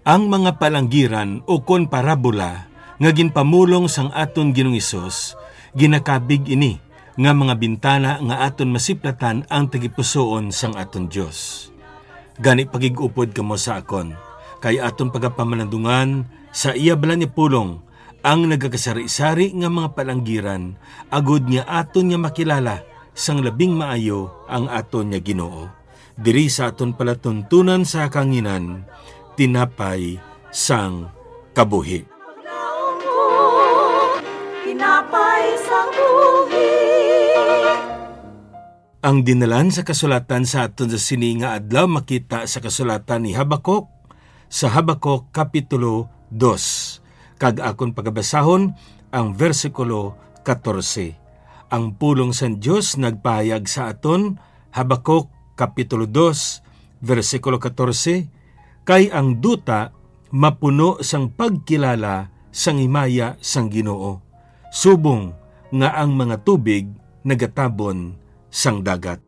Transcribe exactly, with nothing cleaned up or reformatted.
Ang mga palanggiran ukon parabola nga ginpamulong sang aton Ginoong Hesus, ginakabig ini nga mga bintana nga aton masiplatan ang tagipusoon sang aton Dios. Gani, pagig-upod kamo sa akon, kay aton pagapamalandungan sa iya balaan nga pulong ang nagakasari-sari nga mga palanggiran, agod nga aton nga makilala sang labing maayo ang aton nga Ginoo. Diri sa aton palatuntunan sa kahanginan, tinapay sang kabuhi. Tinapay sang buhi. Ang dinalan sa kasulatan sa aton sa sini nga adlaw makita sa kasulatan ni Habakuk, sa Habakuk Kapitulo dos, kag akon pagabasahon ang bersikulo katorse. Ang pulong sang Dios nagpahayag sa aton, Habakuk Kapitulo dos, bersikulo katorse, "Kay ang duta mapuno sang pagkilala sang himaya sang Ginoo, subong nga ang mga tubig nagatabon sang dagat."